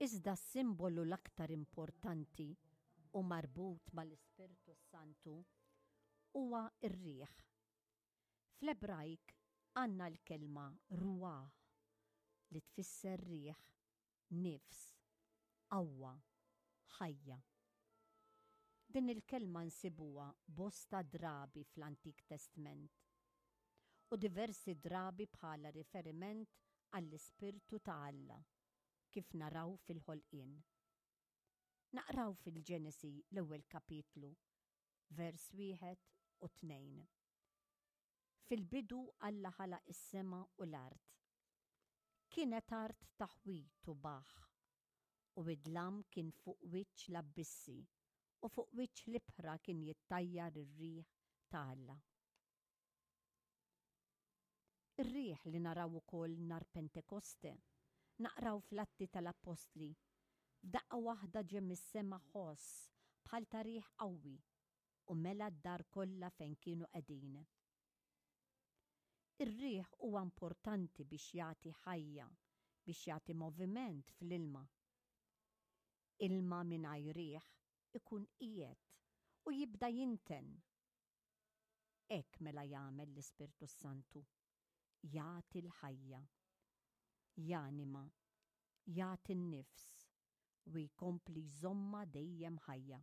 Iżda s-simbolu l-aktar importanti u marbut mal-Ispirtu s-Santu huwa r-riħ. Fl-Ebrajk għandna l-kelma ruah li tfisser riħ, nifs, qawwa, ħajja. Din il-kelma nsibuha bosta drabi fl-Antik Testment u diversi drabi bħala riferiment għall-Ispirtu ta' Alla, kif naraw fil-ħolqien. Naqraw fil-Ġenesi l-ewwel kapitlu, vers wieħed u tnejn. Fil-bidu Alla ħalaq is-sema u l-art. Kienet art taħwid u baħħ, u id-dlam kien fuq wiċċ l-abbissi, u fuq wiċċ l-ibħra kien jittajjar ir-riħ ta' Alla. Ir-riħ li naraw ukoll nhar Pentekoste, naqraw fl-Atti tal-Appostli, F'daqqa waħda ġie mis-sema ħoss bħal ta' riħ qawwi u mela d-dar kollha fejn kienu qegħdin. Ir-riħ huwa importanti biex jagħti ħajja, biex jagħti moviment fl-ilma. Ilma mingħajr riħ ikun qiegħed u jibda jinten. Hekk mela jagħmel l-Ispirtu s-Santu, jagħti l-ħajja, janima, jagħti n-nifs u jkompli jżommha dejjem ħajja.